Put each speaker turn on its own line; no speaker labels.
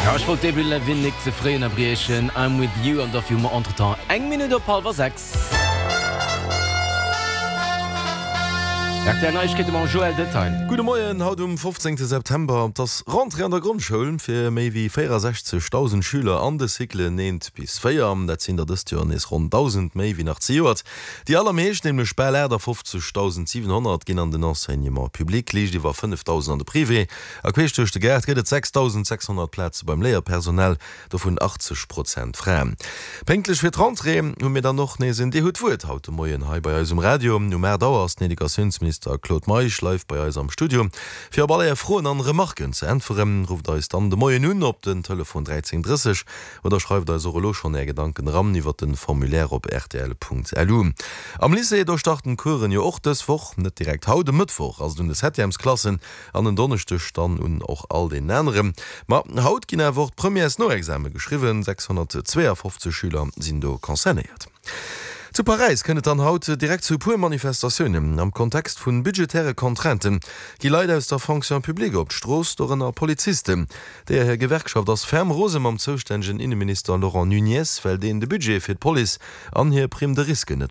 Ja, ech wollt d'Avril Lavigne nik ze fréi ënnerbriechen. I'm with you an dofir hu mer entretemps eng Minutt op hallwer 6. Rtl Neiegkeete mam Joël Detail.
Gudde Moien, haut um 15 September, et ass Rentrée an der Grondschoul fir méi wéi 64.000 Schüler an de Cyclen 1 bis 4. Dat sinn der dëst Joer nees ronn 1.000 méi wéi nach zejoert. Déi allermeescht, nämlech bal 58.700, ginn an den Enseignement public, liicht iwwer 5.000 an de Privé. A queesch duerch de Gaart gëtt et 6.600 Plaze beim Léierpersonal, dovun 80 Prozent Fraen. Pénktlech fir d'Rentrée hu mir dann och nees en Dir hutt d'Wuert haut de Moien hei bei eis um Radio. Um 8 Auer ass den Educatiounsminister Claude Meisch live bei eis am Studio fir op all Är Froen an Remarken ze äntweren. Rufft eis dann de Moien un op den Telefon 13 30 oder schreift eis och elo schonn Är Gedanken eran iwwert den Formulaire op rtl.lu. Am Lycée, do starten d'Coursen jo och dës Woch, net direkt haut, e Mëttwoch ass et un de Septièmesklassen An en Donneschdeg dann un och all deenen aneren. Ma haut ginn awer och d'Premièresnoexame geschriwwen. 652 Schüler sinn do concernéiert. Zu Paräis kënnt et dann haut direkt zu e puer Manifestatiounen. Am Kontext vu budgetäre Contrainten gi Leit aus der Fonction publique op d'Strooss, dorënner Polizisten. Deeër hir Gewerkschaft ass ferm rose mam zoustännegen Inneminister Laurent Nunez, well deen de Budget fir d'Police an hir Prime de risque net.